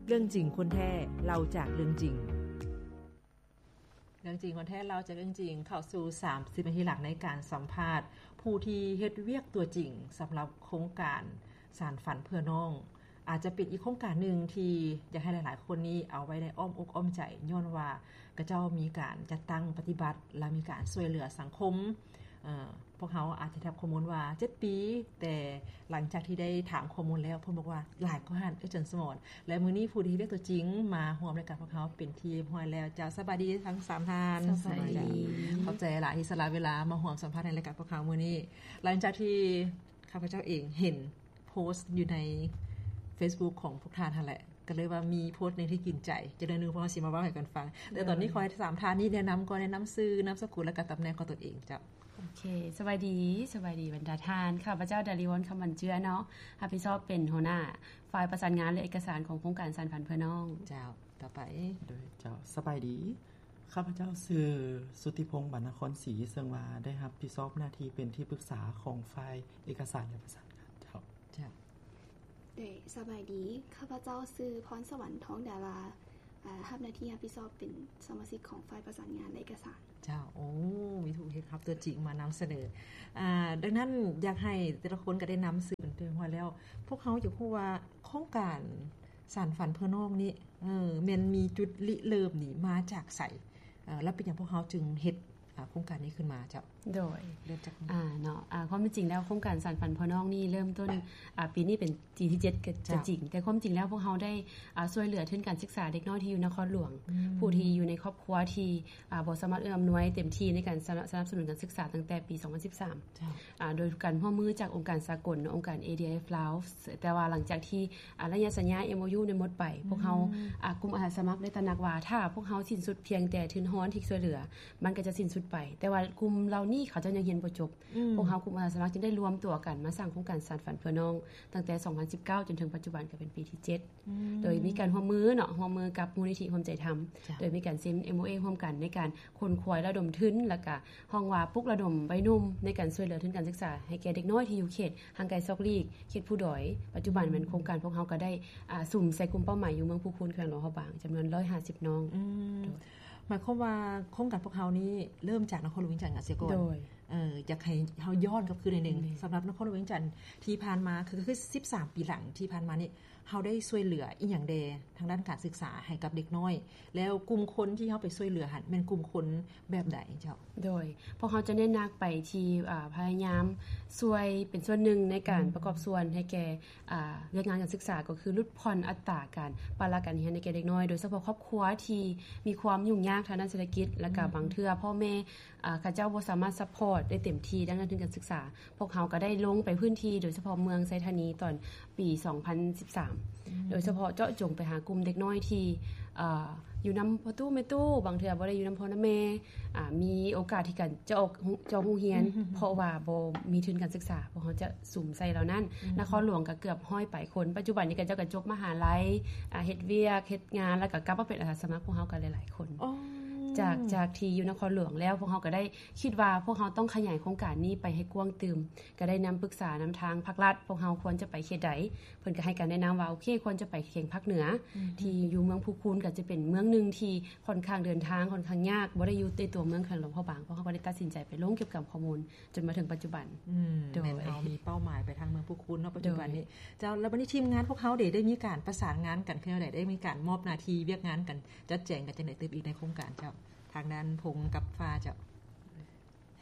ເລື່ອງຈິງຄົນແທ້ ເລົ່າຈາກເລື່ອງຈິງ. ເລື່ອງຈິງຄົນແທ້ ເລົ່າຈາກເລື່ອງຈິງ ເຂົ້າສູ່ສາມສິບນາທີຫຼັງໃນການສຳພາດຜູ້ທີ່ເຮັດວຽກຕົວຈິງສຳລັບໂຄງການສານຝັນເພື່ອນ້ອງ. ອາດຈະເປັນອີກໂຄງການໜຶ່ງທີ່ຢາກໃຫ້ຫຼາຍໆຄົນນີ້ເອົາໄວ້ໃນອ້ອມອົກອ້ອມໃຈ ຍ້ອນວ່າຂະເຈົ້າມີການຈັດຕັ້ງປະຕິບັດ ແລະ ມີການຊ່ວຍເຫຼືອສັງຄົມ. ເອີ ພວກເຮົາອາດຈະໄດ້ຮັບຂໍ້ມູນວ່າເຈັດປີ ແຕ່ຫຼັງຈາກທີ່ໄດ້ຖາມຂໍ້ມູນແລ້ວ ເພິ່ນບອກວ່າຫຼາຍກວ່ານັ້ນ ເອີ ອາຈານສະໝອນ. ແລະ ມື້ນີ້ຜູ້ທີ່ເຮັດວຽກຕົວຈິງມາຮ່ວມລາຍການພວກເຮົາເປັນທີ່ຮຽບຮ້ອຍແລ້ວ. ເຈົ້າ ສະບາຍດີທັງສາມທ່ານ. ສະບາຍດີ. ຂອບໃຈຫຼາຍທີ່ສະຫຼະເວລາມາຮ່ວມສຳພາດໃນລາຍການພວກເຮົາມື້ນີ້. ຫຼັງຈາກທີ່ຂ້າພະເຈົ້າເອງເຫັນໂພສຢູ່ໃນເຟສບຸກຂອງພວກທ່ານຫັ້ນແຫຼະ ກໍເລີຍວ່າມີໂພສໜຶ່ງທີ່ກິນໃຈ ຈັກໜ້ອຍໜຶ່ງພວກເຮົາຊິມາເວົ້າໃຫ້ກັນຟັງ. ແຕ່ຕອນນີ້ ໂດຍ ຂໍໃຫ້ສາມທ່ານນີ້ແນະນຳກ່ອນ ແນະນຳຊື່ ນາມສະກຸນ ແລະ ກະຕຳແໜ່ງຂອງຕົນເອງ. ເຈົ້າ. ໂອເຄ ສະບາຍດີ ສະບາຍດີບັນດາທ່ານ. ຂ້າພະເຈົ້າ ດາລີວອນ ຄຳບັນເຈື່ອເນາະ ຮັບຜິດຊອບເປັນຫົວໜ້າຝ່າຍປະສານງານ ແລະ ເອກະສານຂອງໂຄງການສານຝັນເພື່ອນ້ອງ. ເຈົ້າ ຕໍ່ໄປ. ໂດຍ ເຈົ້າ ສະບາຍດີ. ຂ້າພະເຈົ້າຊື່ ສຸດທິພົງ ບັນນະຄອນສີ ເຊິ່ງວ່າໄດ້ຮັບຜິດຊອບໜ້າທີ່ເປັນທີ່ປຶກສາຂອງຝ່າຍເອກະສານ ແລະ ປະສານງານ. ເຈົ້າ. ເຈົ້າ. ໂດຍ ສະບາຍດີ. ຂ້າພະເຈົ້າຊື່ ພອນສະຫວັນ ທອງດາລາ ອາ ຮັບໜ້າທີ່ຮັບຜິດຊອບເປັນສະມາຊິກຂອງຝ່າຍປະສານງານ ແລະ ເອກະສານ. ເຈົ້າ. ໂອ້ ມີຜູ້ເຮັດຮັບຕົວຈິງມານຳສະເໜີ. ອາ ດັ່ງນັ້ນ ຢາກໃຫ້ແຕ່ລະຄົນກໍໄດ້ນຳຊື່ເປັນທີ່ຮຽບຮ້ອຍແລ້ວ. ພວກເຮົາຢາກຮູ້ວ່າໂຄງການສານຝັນເພື່ອນ້ອງນີ້ ເອີ ແມ່ນມີຈຸດລິເລີ່ມນີ້ມາຈາກໃສ? ເອີ ແລ້ວເປັນຫຍັງພວກເຮົາຈຶ່ງເຮັດ ອາ ໂຄງການນີ້ຂຶ້ນມາເຈົ້າ? ໂດຍ ເລີ່ມຈາກ ອາ ເນາະ ອາ ຄວາມເປັນຈິງແລ້ວ ໂຄງການສານຝັນເພື່ອນ້ອງນີ້ເລີ່ມຕົ້ນ ອາ ປີນີ້ເປັນປີທີເຈັດກໍ ເຈົ້າ ຈະຈິງ, ແຕ່ຄວາມຈິງແລ້ວພວກເຮົາໄດ້ ອາ ຊ່ວຍເຫຼືອທຶນການສຶກສາເດັກນ້ອຍທີ່ຢູ່ນະຄອນຫຼວງ ອືມ ຜູ້ທີ່ຢູ່ໃນຄອບຄົວທີ່ ອາ ບໍ່ສາມາດເອື້ອອຳນວຍເຕັມທີ່ໃນການສະ ສະໜັບສະໜູນການສຶກສາຕັ້ງແຕ່ປີສອງພັນສິບສາມ ເຈົ້າ ອາ ໂດຍການຮ່ວມມືຈາກອົງການສາກົນ ອົງການ ເອດີເອຟ ລາວ. ແຕ່ວ່າຫຼັງຈາກທີ່ ອາ ໄລຍະສັນຍາ ເອັມໂອຢູ ນັ້ນໝົດໄປ ອືມ ພວກເຮົາ ອາ ກຸ່ມອາສາສະໝັກໄດ້ຕະໜັກວ່າ ຖ້າພວກເຮົາສິ້ນສຸດພຽງແຕ່ທຶນຮອນທີ່ຊ່ວຍເຫຼືອ ມັນກໍຈະສິ້ນສຸດໄປ, ແຕ່ວ່າກຸ່ມເຫຼົ່ານີ້ເຂົາເຈົ້າຍັງຮຽນບໍ່ຈົບ. ອືມ ພວກເຮົາກຸ່ມອາສາສະໝັກຈຶ່ງໄດ້ລວມຕົວກັນມາສ້າງໂຄງການສານຝັນເພື່ອນ້ອງ ຕັ້ງແຕ່ສອງພັນສິບເກົ້າ ຈົນເຖິງປັດຈຸບັນກໍເປັນປີທີເຈັດ ອືມ ໂດຍມີການຮ່ວມມືເນາະ ຮ່ວມມືກັບມູນນິທິຮ່ວມໃຈທຳ ເຈົ້າ ໂດຍມີການເຊັນ ເອັມໂອເອ ຮ່ວມກັນໃນການ ຂົນຂວາຍລະດົມທຶນ ແລ້ວກະຮ້ອງວ່າປຸກລະດົມໄວໜຸ່ມໃນການຊ່ວຍເຫຼືອທຶນການສຶກສາໃຫ້ແກ່ເດັກນ້ອຍທີ່ຢູ່ເຂດຫ່າງໄກຊອກຫຼີກ ເຂດພູດອຍ. ປັດຈຸບັນແມ່ນໂຄງການພວກເຮົາກໍໄດ້ ອາ ສຸມໃສ່ກຸ່ມເປົ້າໝາຍຢູ່ເມືອງພູຄູນ ແຂວງຫຼວງພະບາງ ຈຳນວນຮ້ອຍຫ້າສິບນ້ອງ. ອືມ ໂດຍ ໝາຍຄວາມວ່າໂຄງການພວກເຮົານີ້ເລີ່ມຈາກນະຄອນຫຼວງວຽງຈັນເສຍກ່ອນ. ໂດຍ ເອີ ຢາກໃຫ້ເຮົາຍ້ອນກັບຄືນໜ້ອຍໜຶ່ງ ແມ່ນ ສຳລັບນະຄອນຫຼວງວຽງຈັນທີ່ຜ່ານມາ ຄື ຄືສິບສາມປີຫຼັງທີ່ຜ່ານມານີ້ ເຮົາໄດ້ຊ່ວຍເຫຼືອອີ່ຫຍັງແດ່ທາງດ້ານການສຶກສາໃຫ້ກັບເດັກນ້ອຍ ແລ້ວກຸ່ມຄົນທີ່ເຮົາໄປຊ່ວຍເຫຼືອຫັ້ນແມ່ນກຸ່ມຄົນແບບໃດເຈົ້າ? ໂດຍ ພວກເຮົາຈະເນັ້ນໜັກໄປທີ່ ອາ ພະຍາຍາມຊ່ວຍເປັນສ່ວນໜຶ່ງໃນການ ອືມ ປະກອບສ່ວນໃຫ້ແກ່ ອາ ວຽກງານການສຶກສາ ກໍຄືຫຼຸດຜ່ອນອັດຕາການປະລະການຮຽນໃຫ້ແກ່ເດັກນ້ອຍ ໂດຍສະເພາະຄອບຄົວທີ່ມີຄວາມຫຍຸ້ງຍາກທາງດ້ານເສດຖະກິດ ແລ້ວກະ ອືມ ບາງເທື່ອພໍ່ແມ່ ອາ ເຂົາເຈົ້າບໍ່ສາມາດຊັບພອດໄດ້ເຕັມທີ່ທາງດ້ານທຶນການສຶກສາ. ພວກເຮົາກໍໄດ້ລົງໄປພື້ນທີ່ ໂດຍສະເພາະເມືອງໄຊທານີຕອນປີສອງພັນສິບສາມ ອືມ ໂດຍສະເພາະເຈາະຈົງໄປຫາກຸ່ມເດັກນ້ອຍທີ່ ເອີ ຢູ່ນຳພໍ່ຕູ້ແມ່ຕູ້ ບາງເທື່ອບໍ່ໄດ້ຢູ່ນຳພໍ່ນຳແມ່ ອາ ມີໂອກາດທີ່ການຈະອອກ ຈະອອກໂຮງຮຽນ ອືມ ເພາະວ່າບໍ່ມີທຶນການສຶກສາ ພວກເຮົາຈະສຸມໃສ່ເຫຼົ່ານັ້ນ. ອືມ ນະຄອນຫຼວງກໍເກືອບຮ້ອຍປາຍຄົນ ປັດຈຸບັນນີ້ເຂົາເຈົ້າກໍຈົບມະຫາໄລ ອາ ເຮັດວຽກເຮັດງານ ແລ້ວກໍກັບມາເປັນອາສາສະໝັກພວກເຮົາກໍຫຼາຍໆຄົນ. ອໍ ຈາກ ຈາກທີ່ຢູ່ນະຄອນຫຼວງແລ້ວ ພວກເຮົາກໍໄດ້ຄິດວ່າພວກເຮົາຕ້ອງຂະຫຍາຍໂຄງການນີ້ໄປໃຫ້ກວ້າງຕື່ມ ກໍໄດ້ນຳປຶກສານຳທາງພາກລັດ ພວກເຮົາຄວນຈະໄປເຂດໃດ ເພິ່ນກໍໃຫ້ການແນະນຳວ່າ ໂອເຄ ຄວນຈະໄປແຂວງພາກເໜືອ ອືມ ທີ່ຢູ່ເມືອງພູຄູນ ກໍຈະເປັນເມືອງໜຶ່ງທີ່ຂ້ອນຂ້າງເດີນທາງຂ້ອນຂ້າງຍາກ ບໍ່ໄດ້ຢູ່ໃນຕົວເມືອງແຂວງຫຼວງພະບາງ ພວກເຮົາກໍໄດ້ຕັດສິນໃຈໄປລົງເກັບກຳຂໍ້ມູນຈົນມາເຖິງປັດຈຸບັນ. ອືມ ໂດຍ ແມ່ນເຮົາມີເປົ້າໝາຍໄປທາງເມືອງພູຄູນເນາະ ປັດຈຸບັນນີ້. ເຈົ້າ ແລ້ວບັດນີ້ທີມງານພວກເຮົາເດ ໄດ້ມີການປະສານງານກັນຄືແນວໃດ? ໄດ້ມີການມອບໜ້າທີ່ວຽກງານກັນ ຈັດແຈງກັນຈັ່ງໃດຕື່ມອີກໃນໂຄງການເຈົ້າ? ທາງດ້ານພົງກັບຟ້າເຈົ້າ.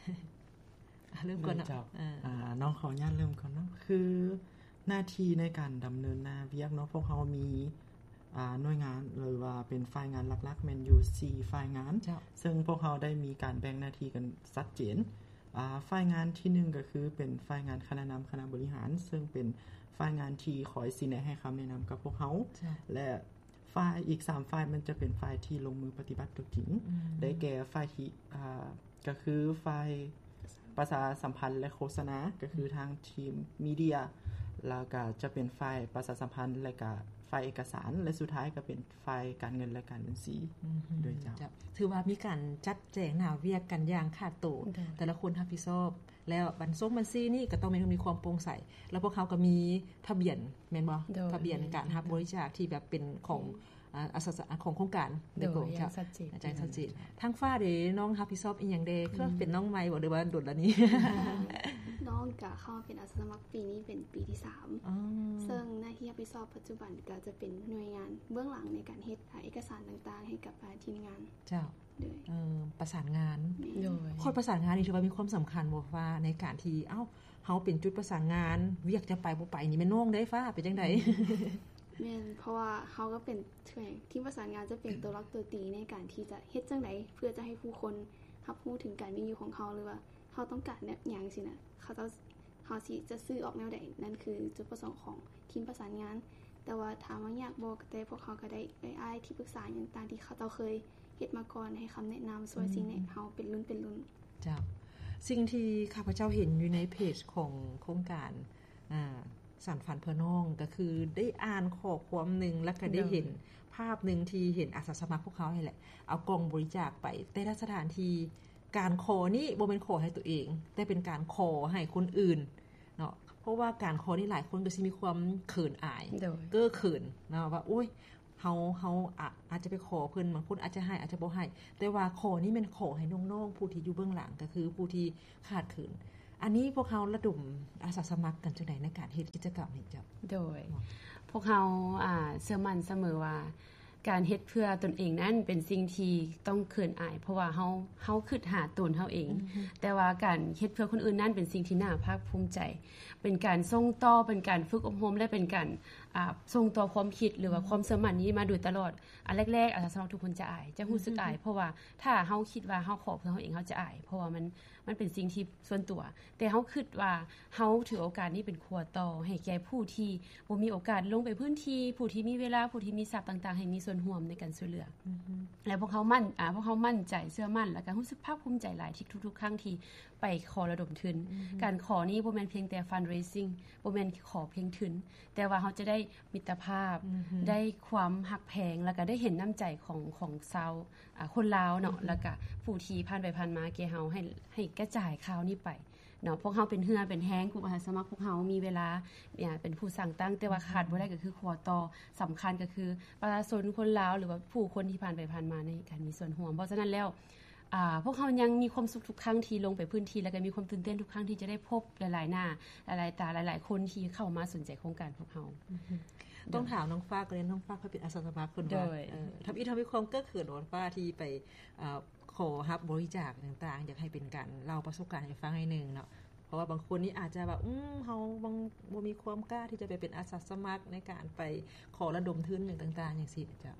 ເລີ່ມກ່ອນເນາະ ເຈົ້າ ອາ ອາ ນ້ອງຂໍອະນຸຍາດເລີ່ມກ່ອນເນາະ ຄືໜ້າທີ່ໃນການດຳເນີນໜ້າວຽກເນາະ ພວກເຮົາມີ ອາ ໜ່ວຍງານ ຫຼືວ່າເປັນຝ່າຍງານຫຼັກໆ ແມ່ນຢູ່ສີ່ຝ່າຍງານ ເຈົ້າ ເຊິ່ງພວກເຮົາໄດ້ມີການແບ່ງໜ້າທີ່ກັນຊັດເຈນ. ອາ ຝ່າຍງານທີໜຶ່ງ ກໍຄືເປັນຝ່າຍງານຄະນະນຳຄະນະບໍລິຫານ ເຊິ່ງເປັນຝ່າຍງານທີ່ຄອຍຊີ້ແນະໃຫ້ຄຳແນະນຳກັບພວກເຮົາ ເຈົ້າ ແລະ ຝ່າຍ ອີກສາມຝ່າຍມັນຈະເປັນຝ່າຍທີ່ລົງມືປະຕິບັດຕົວຈິງ ອືມ ໄດ້ແກ່ຝ່າຍທີ່ ອາ ກໍຄືຝ່າຍປະຊາສຳພັນ ແລະ ໂຄສະນາ ກໍຄືທາງທີມມີເດຍ ແລ້ວກໍຈະເປັນຝ່າຍປະຊາສຳພັນ ແລະກະຝ່າຍເອກະສານ ແລະສຸດທ້າຍກໍເປັນຝ່າຍການເງິນ ແລະການບັນຊີ ອືຮຶ ໂດຍເຈົ້າ. ເຈົ້າ ຖືວ່າມີການຈັດແຈງໜ້າວຽກກັນຢ່າງຂາດໂຕ ໂດຍ ແຕ່ລະຄົນຮັບຜິດຊອບ ແລ້ວບັນຊົງບັນຊີນີ້ກໍຕ້ອງມີ ມີຄວາມໂປ່ງໃສ ແລ້ວພວກເຮົາກໍມີທະບຽນ ແມ່ນບໍ່? ໂດຍ ທະບຽນການຮັບບໍລິຈາກທີ່ແບບເປັນຂອງ ອາ ອາສາສະ ຂອງໂຄງການໂດຍກົງ ໂດຍ ຢ່າງຊັດເຈນ ຈະຊັດເຈນ. ທາງຟ້າເດ ນ້ອງຮັບຜິດຊອບອີ່ຫຍັງແດ່? ຄືເປັນນ້ອງໃໝ່ບໍ່ ຫຼືວ່າດົນແລ້ວນີ້? ນ້ອງກະເຂົ້າເປັນອາສາສະໝັກປີນີ້ເປັນປີທີສາມ ອໍ ເຊິ່ງໜ້າທີ່ຮັບຜິດຊອບປັດຈຸບັນກະຈະເປັນໜ່ວຍງານເບື້ອງຫຼັງໃນການເຮັດ ອາ ເອກະສານຕ່າງໆໃຫ້ກັບ ອາ ທີມງານ. ເຈົ້າ ໂດຍ ເອີ ປະສານງານ ໂດຍ ຄົນປະສານງານນີ້ຖືວ່າມີຄວາມສຳຄັນບໍ່ ວ່າໃນການທີ່ ເອົ້າ ເຮົາເປັນຈຸດປະສານງານ ວຽກຈະໄປບໍ່ໄປນີ້ແມ່ນນ້ອງເດ້ ຟ້າ ເປັນຈັ່ງໃດ? ແມ່ນ ເພາະວ່າເຮົາກໍເປັນທີມປະສານງານ ຈະເປັນຕົວຫຼັກຕົວຕີໃນການທີ່ຈະເຮັດຈັ່ງໃດເພື່ອຈະໃຫ້ຜູ້ຄົນຮັບຮູ້ເຖິງການມີຢູ່ຂອງເຮົາ ຫຼືວ່າເຮົາຕ້ອງການແນວຫຍັງຊີ້ນະ ເຂົາເຈົ້າ ເຮົາຊິຈະສື່ອອກແນວໃດ ນັ້ນຄືຈຸດປະສົງຂອງທີມປະສານງານ. ແຕ່ວ່າຖາມວ່າຍາກບໍ່ ແຕ່ພວກເຮົາກໍໄດ້ເອື້ອຍອ້າຍທີ່ປຶກສາຫຍັງຕ່າງໆທີ່ເຂົາເຈົ້າເຄີຍເຮັດມາກ່ອນ ໃຫ້ຄຳແນະນຳ ຊ່ວຍຊີ້ແນະເຮົາເປັນລຸ້ນເປັນລຸ້ນ. ເຈົ້າ ສິ່ງທີ່ຂ້າພະເຈົ້າເຫັນຢູ່ໃນເພຈຂອງໂຄງການ ອາ ສານຝັນເພື່ອນ້ອງ ກໍຄືໄດ້ອ່ານຂໍ້ຄວາມໜຶ່ງ ແລ້ວກໍໄດ້ເຫັນພາບໜຶ່ງທີ່ເຫັນອາສາສະໝັກພວກເຮົານີ້ແຫຼະ ເອົາກ່ອງບໍລິຈາກໄປແຕ່ລະສະຖານທີ່. ການຂໍນີ້ບໍ່ແມ່ນຂໍໃຫ້ຕົວເອງ ແຕ່ເປັນການຂໍໃຫ້ຄົນອື່ນເນາະ ເພາະວ່າການຂໍນີ້ຫຼາຍຄົນກໍຊິມີຄວາມເຂີນອາຍ ໂດຍ ເກີເຂີນເນາະ ວ່າ ໂອ້ຍ ເຮົາ ເຮົາອາດ ອາດຈະໄປຂໍເພິ່ນ ບາງຄົນອາດຈະໃຫ້ ອາດຈະບໍ່ໃຫ້ ແຕ່ວ່າຂໍນີ້ແມ່ນຂໍໃຫ້ນ້ອງໆຜູ້ທີ່ຢູ່ເບື້ອງຫຼັງ ກໍຄືຜູ້ທີ່ຂາດເຂີນ. ອັນນີ້ພວກເຮົາລະດົມອາສາສະໝັກກັນຈັ່ງໃດໃນການເຮັດກິດຈະກຳນີ້ເຈົ້າ? ໂດຍ ພວກເຮົາ ອາ ເຊື່ອໝັ້ນສະເໝີວ່າ ການເຮັດເພື່ອຕົນເອງນັ້ນເປັນສິ່ງທີ່ຕ້ອງເຂີນອາຍ ເພາະວ່າເຮົາ ເຮົາຄິດຫາຕົນເຮົາເອງ ແຕ່ວ່າການເຮັດເພື່ອຄົນອື່ນນັ້ນເປັນສິ່ງທີ່ໜ້າພາກພູມໃຈ ເປັນການສົ່ງຕໍ່ ເປັນການຝຶກອົບຮົມ ແລະເປັນການ ອາ ສົ່ງຕໍ່ຄວາມຄິດ ຫຼືວ່າຄວາມເຊື່ອໝັ້ນນີ້ມາໂດຍຕະຫຼອດ. ອັນແລກໆ ອາສາສະໝັກທຸກຄົນຈະອາຍ ຈະຮູ້ສຶກອາຍ ເພາະວ່າຖ້າເຮົາຄິດວ່າເຮົາຂໍເພື່ອເຮົາເອງ ເຮົາຈະອາຍ ເພາະວ່າມັນ ມັນເປັນສິ່ງທີ່ສ່ວນຕົວ ແຕ່ເຮົາຄິດວ່າເຮົາຖືໂອກາດນີ້ເປັນຂົວຕໍ່ໃຫ້ແກ່ຜູ້ທີ່ບໍ່ມີໂອກາດລົງໄປພື້ນທີ່ ຜູ້ທີ່ມີເວລາ ຜູ້ທີ່ມີຊັບຕ່າງໆ ໃຫ້ມີສ່ວນຮ່ວມໃນການຊ່ວຍເຫຼືອ ແລະພວກເຮົາໝັ້ນ ອາ ພວກເຮົາໝັ້ນໃຈເຊື່ອໝັ້ນ ແລະກໍຮູ້ສຶກພາກພູມໃຈຫຼາຍທີ່ທຸກໆຄັ້ງທີ່ໄປຂໍລະດົມທຶນ. ການຂໍນີ້ບໍ່ແມ່ນພຽງແຕ່ fundraising ບໍ່ແມ່ນຂໍພຽງທຶນ ແຕ່ວ່າເຮົາຈະໄດ້ມິດຕະພາບ ໄດ້ຄວາມຮັກແພງ ແລ້ວກໍໄດ້ເຫັນນ້ຳໃຈຂອງ ຂອງຊາວ ອາ ຄົນລາວເນາະ ແລ້ວກະຜູ້ທີ່ຜ່ານໄປຜ່ານມາແກ່ເຮົາ ໃຫ້ ໃຫ້ກະຈາຍຂ່າວນີ້ໄປເນາະ. ພວກເຮົາເປັນເຫື່ອເປັນແຮງ ກຸ່ມອາສາສະໝັກພວກເຮົາມີເວລາ ເປັນຜູ້ສ້າງຕັ້ງ ແຕ່ວ່າຂາດບໍ່ໄດ້ກໍຄືຂົວຕໍ່ສຳຄັນ ກໍຄືປະຊາຊົນຄົນລາວ ຫຼືວ່າຜູ້ຄົນທີ່ຜ່ານໄປຜ່ານມາໃນການມີສ່ວນຮ່ວມ. ເພາະສະນັ້ນແລ້ວ ອາ ພວກເຮົາຍັງມີຄວາມສຸກທຸກຄັ້ງທີ່ລົງໄປພື້ນທີ່ ແລ້ວກໍມີຄວາມຕື່ນເຕັ້ນທຸກຄັ້ງທີ່ຈະໄດ້ພົບຫຼາຍໆໜ້າ ຫຼາຍໆຕາ ຫຼາຍໆຄົນທີ່ເຂົ້າມາສົນໃຈໂຄງການພວກເຮົາ. ຕ້ອງຖາມນ້ອງຟ້າກ່ອນເດ ນ້ອງຟ້າເຄີຍເປັນອາສາສະໝັກເພິ່ນບໍ່? ໂດຍ ເອີ ທຳອິດເຮົາມີຄວາມເກີກເຂີນບໍ່ ນ້ອງຟ້າ ທີ່ໄປ ເອີ ຂໍຮັບບໍລິຈາກຕ່າງໆ ຢາກໃຫ້ເປັນການເລົ່າປະສົບການໃຫ້ຟັງໜ້ອຍໜຶ່ງເນາະ ເພາະວ່າບາງຄົນນີ້ອາດຈະແບບ ອືມ ເຮົາບໍ່ ບໍ່ມີຄວາມກ້າທີ່ຈະໄປເປັນອາສາສະໝັກໃນການໄປຂໍລະດົມທຶນຫຍັງຕ່າງໆ ຈັ່ງຊີ້ເຈົ້າ.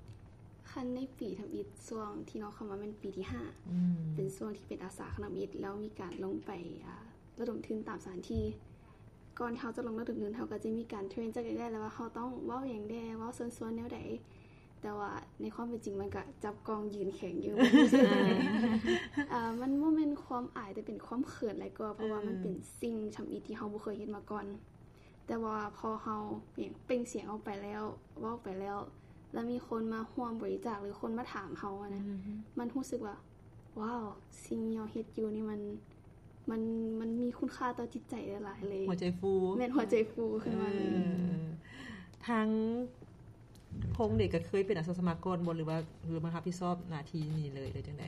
ຄັນໃນປີທຳອິດ ຊ່ວງທີ່ນ້ອງເຂົ້າມາແມ່ນປີທີຫ້າ ເປັນຊ່ວງທີ່ເປັນອາສາທຳອິດ ແລ້ວມີການລົງໄປ ອາ ລະດົມທຶນຕາມສະຖານທີ່. ກ່ອນທີ່ເຮົາຈະລົງລະດົມທຶນ ເຮົາກໍຈະມີການເທຣນຈັກໜ້ອຍແລ້ວວ່າເຮົາຕ້ອງເວົ້າຫຍັງແດ່ ເວົ້າເຊີນຊວນແນວໃດ. ແຕ່ວ່າໃນຄວາມເປັນຈິງມັນກະຈັບກ່ອງຢືນແຂງຢູ່ ບໍ່ຮູ້ສຶກຫຍັງເລີຍ. ອາ ມັນບໍ່ແມ່ນຄວາມອາຍ ແຕ່ເປັນຄວາມເຂີນຫຼາຍກວ່າ ເພາະວ່າມັນເປັນສິ່ງທຳອິດທີ່ເຮົາບໍ່ເຄີຍເຮັດມາກ່ອນ. ແຕ່ວ່າພໍເຮົາເປັ່ງສຽງອອກໄປແລ້ວ ເວົ້າໄປແລ້ວ ແລ້ວມີຄົນມາຮ່ວມບໍລິຈາກ ຫຼືຄົນມາຖາມເຮົາຫັ້ນນະ ມັນຮູ້ສຶກວ່າ ວ້າວ ສິ່ງທີ່ເຮົາເຮັດຢູ່ນີ້ມັນ ມັນ ມັນມີຄຸນຄ່າຕໍ່ຈິດໃຈຫຼາຍໆເລີຍ. ຫົວໃຈຟູ. ແມ່ນ ຫົວໃຈຟູຂຶ້ນມາເລີຍ. ເອີ ທາງພົງເດ ກໍເຄີຍເປັນອາສາສະໝັກກ່ອນບໍ່ ຫຼືວ່າ ຫຼືມາຮັບຜິດຊອບໜ້າທີ່ນີ້ເລີຍ ຫຼືຈັ່ງໃດ?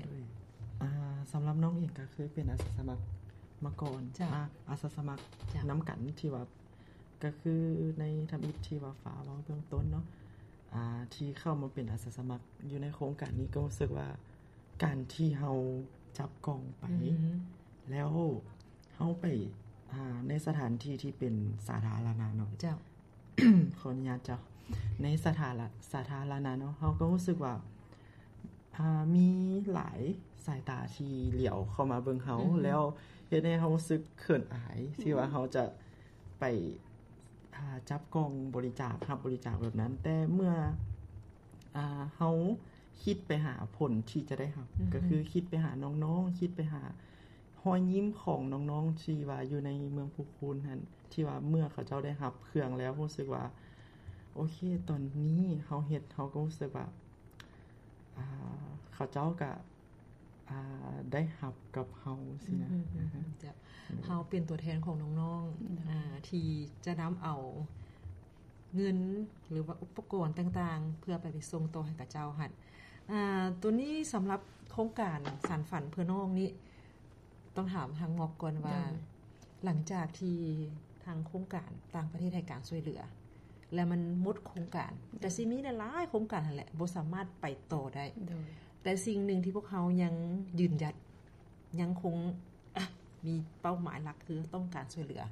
ອາ ສຳລັບນ້ອງເອງກໍເຄີຍເປັນອາສາສະໝັກມາກ່ອນ. ເຈົ້າ. ອາ ອາສາສະໝັກນຳກັນທີ່ວ່າ ກໍຄືໃນທຳອິດທີ່ວ່າຟ້າເວົ້າເບື້ອງຕົ້ນເນາະ ອາ ທີ່ເຂົ້າມາເປັນອາສາສະໝັກຢູ່ໃນໂຄງການນີ້ ກໍຮູ້ສຶກວ່າການທີ່ເຮົາຈັບກ່ອງໄປ ແລ້ວເຮົາໄປ ອາ ໃນສະຖານທີ່ທີ່ເປັນສາທາລະນະເນາະ. ເຈົ້າ. ຂໍອະນຸຍາດເຈົ້າ. ໃນສາທາລະ ສາທາລະນະເນາະ ເຮົາກໍຮູ້ສຶກວ່າ ອາ ມີຫຼາຍສາຍຕາທີ່ຫຼຽວເຂົ້າມາເບິ່ງເຮົາ ແລ້ວເຮັດໃຫ້ເຮົາຮູ້ສຶກເຂີນອາຍ ທີ່ວ່າເຮົາຈະໄປ ອາ ຈັບກ່ອງບໍລິຈາກ ຮັບບໍລິຈາກແບບນັ້ນ. ແຕ່ເມື່ອ ອາ ເຮົາຄິດໄປຫາຜົນທີ່ຈະໄດ້ຮັບ ກໍຄືຄິດໄປຫານ້ອງໆ ຄິດໄປຫາ ຮອຍຍິ້ມຂອງນ້ອງໆທີ່ວ່າຢູ່ໃນເມືອງພູຄູນຫັ້ນ ທີ່ວ່າເມື່ອເຂົາເຈົ້າໄດ້ຮັບເຄື່ອງແລ້ວ ຮູ້ສຶກວ່າ ໂອເຄ ຕອນນີ້ເຮົາເຮັດ ເຮົາກໍຮູ້ສຶກວ່າ ອ່າ ເຂົາເຈົ້າກະ ອ່າ ໄດ້ຮັບກັບເຮົາຊີ້ນະ. ອືມ ເຈົ້າ ເຮົາເປັນຕົວແທນຂອງນ້ອງໆ ອືມ ອ່າ ທີ່ຈະນຳເອົາເງິນ ຫຼືວ່າອຸປະກອນຕ່າງໆ ເພື່ອໄປ ໄປສົ່ງຕໍ່ໃຫ້ເຂົາເຈົ້າຫັ້ນ. ອ່າ ໂຕນີ້ສຳລັບໂຄງການສານຝັນເພື່ອນ້ອງນີ້ ຕ້ອງຖາມທາງໝອກກ່ອນວ່າ ໂດຍ ຫຼັງຈາກທີ່ທາງໂຄງການຕ່າງປະເທດໃຫ້ການຊ່ວຍເຫຼືອ ແລ້ວມັນໝົດໂຄງການ ໂດຍ ກະຊິມີຫຼາຍໆໂຄງການຫັ້ນແຫຼະ ບໍ່ສາມາດໄປຕໍ່ໄດ້ ໂດຍ ແຕ່ສິ່ງໜຶ່ງທີ່ພວກເຮົາຍັງຢືນຢັນ ຍັງຄົງ ອະ ມີເປົ້າໝາຍຫຼັກຄືຕ້ອງການຊ່ວຍເຫຼືອ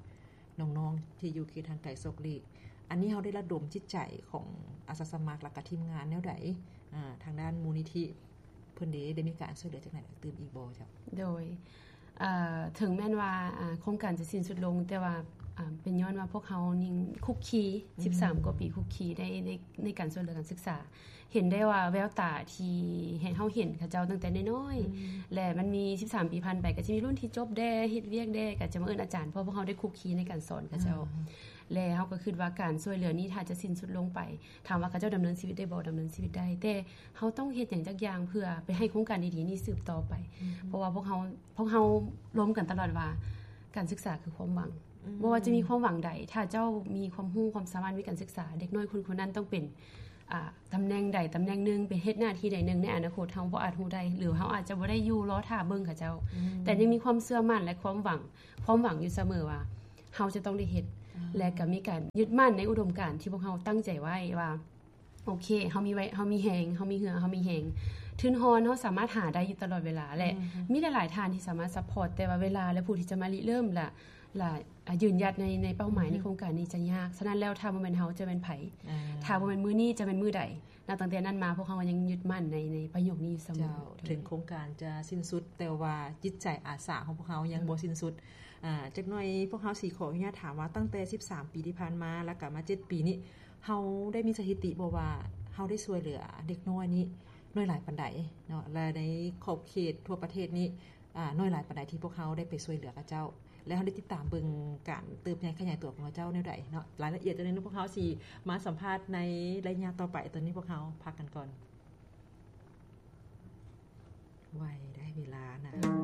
ນ້ອງໆທີ່ຢູ່ເຂດຫ່າງໄກສອກຫຼີກ. ອັນນີ້ເຮົາໄດ້ລະດົມຈິດໃຈຂອງອາສາສະໝັກ ແລ້ວກະທີມງານແນວໃດ? ອ່າ ທາງດ້ານມູນນິທິ ເພິ່ນເດ ໄດ້ມີການຊ່ວຍເຫຼືອຈັ່ງໃດຕື່ມອີກບໍ່ເຈົ້າ? ໂດຍ ເອີ ເຖິງແມ່ນວ່າ ອ່າ ໂຄງການຈະສິ້ນສຸດລົງ ແຕ່ວ່າ ອ່າ ເປັນຍ້ອນວ່າພວກເຮົາຍັງຄຸກຄີ ອືມ ສິບສາມກວ່າປີຄຸກຄີໃນ ໃນ ໃນການຊ່ວຍເຫຼືອການສຶກສາ. ເຫັນໄດ້ວ່າແວວຕາທີ່ໃຫ້ເຮົາເຫັນເຂົາເຈົ້າຕັ້ງແຕ່ນ້ອຍໆ ອືມ ແລະ ມັນມີສິບສາມປີຜ່ານໄປ ກໍຈະມີລຸ້ນທີ່ຈົບແດ່ ເຮັດວຽກແດ່ ກໍຈະມາເອີ້ນອາຈານ ເພາະພວກເຮົາໄດ້ຄຸກຄີໃນການສອນເຂົາເຈົ້າ. ອືມ ແລະ ເຮົາກໍຄິດວ່າການຊ່ວຍເຫຼືອນີ້ຖ້າຈະສິ້ນສຸດລົງໄປ ຖາມວ່າເຂົາເຈົ້າດຳເນີນຊີວິດໄດ້ບໍ່? ດຳເນີນຊີວິດໄດ້ ແຕ່ເຮົາຕ້ອງເຮັດຫຍັງຈັກຢ່າງເພື່ອໄປໃຫ້ໂຄງການດີໆນີ້ສືບຕໍ່ໄປ. ອືມ ເພາະວ່າພວກເຮົາ ພວກເຮົາລົມກັນຕະຫຼອດວ່າ ການສຶກສາຄືຄວາມຫວັງ. ອືມ ບໍ່ວ່າຈະມີຄວາມຫວັງໃດ ຖ້າເຈົ້າມີຄວາມຮູ້ຄວາມສາມາດ ມີການສຶກສາ ເດັກນ້ອຍຄົນຄົນນັ້ນຕ້ອງເປັນ ອ່າ ຕຳແໜ່ງໃດຕຳແໜ່ງໜຶ່ງ ໄປເຮັດໜ້າທີ່ໃດໜຶ່ງໃນອະນາຄົດ ເຮົາບໍ່ອາດຮູ້ໄດ້ ຫຼື ເຮົາອາດຈະບໍ່ໄດ້ຢູ່ລໍຖ້າເບິ່ງເຂົາເຈົ້າ. ອືມ ແຕ່ຍັງມີຄວາມເຊື່ອໝັ້ນ ແລະ ຄວາມຫວັງ ຄວາມຫວັງຢູ່ສະເໝີວ່າ ເຮົາຈະຕ້ອງໄດ້ເຮັດ ອ່າ ແລະ ກໍມີການຍຶດໝັ້ນໃນອຸດົມການທີ່ພວກເຮົາຕັ້ງໃຈໄວ້ວ່າ ໂອເຄ ເຮົາມີໄວ້ ເຮົາມີແຮງ ເຮົາມີເຫື່ອ ເຮົາມີແຮງ ທຶນຮອນເຮົາສາມາດຫາໄດ້ຢູ່ຕະຫຼອດເວລາ ແລະ ອືມ ມີຫຼາຍໆທ່ານທີ່ສາມາດຊັບພອດ ແຕ່ວ່າເວລາ ແລະ ຜູ້ທີ່ຈະມາລິເລີ່ມ ແລະ ແລະ ອ່າ ຢືນຢັດໃນ ໃນເປົ້າໝາຍ ອືຮຶ ໃນໂຄງການນີ້ຈະຍາກ. ສະນັ້ນແລ້ວ ຖ້າບໍ່ແມ່ນເຮົາ ຈະແມ່ນໃຜ? ອ່າ ຖ້າບໍ່ແມ່ນມື້ນີ້ ຈະແມ່ນມື້ໃດ? ນັບຕັ້ງແຕ່ນັ້ນມາ ພວກເຮົາຍັງຍຶດໝັ້ນໃນ ໃນປະໂຫຍກນີ້ຢູ່ສະເໝີ. ເຈົ້າ ເຖິງໂຄງການຈະສິ້ນສຸດ ແຕ່ວ່າຈິດໃຈອາສາຂອງພວກເຮົາຍັງ ອືມ ບໍ່ສິ້ນສຸດ. ອ່າ ຈັກໜ່ອຍພວກເຮົາຊິຂໍອະນຸຍາດຖາມວ່າ ຕັ້ງແຕ່ສິບສາມປີທີ່ຜ່ານມາ ແລ້ວກໍມາເຈັດປີນີ້ ເຮົາໄດ້ມີສະຖິຕິບໍ່ວ່າ ເຮົາໄດ້ຊ່ວຍເຫຼືອເດັກນ້ອຍນີ້ໜ້ອຍຫຼາຍປານໃດເນາະ ແລະ ໃນຂອບເຂດທົ່ວປະເທດນີ້ ອ່າ ໜ້ອຍຫຼາຍປານໃດທີ່ພວກເຮົາໄດ້ໄປຊ່ວຍເຫຼືອເຂົາເຈົ້າ ແລະ ເຮົາໄດ້ຕິດຕາມເບິ່ງການເຕີບໃຫຍ່ຂະຫຍາຍຕົວຂອງເຂົາເຈົ້າແນວໃດເນາະ? ລາຍລະອຽດອັນນີ້ພວກເຮົາຊິມາສຳພາດໃນໄລຍະຕໍ່ໄປ. ຕອນນີ້ພວກເຮົາພັກກັນກ່ອນ. ໄວໄດ໋ເວລານະ.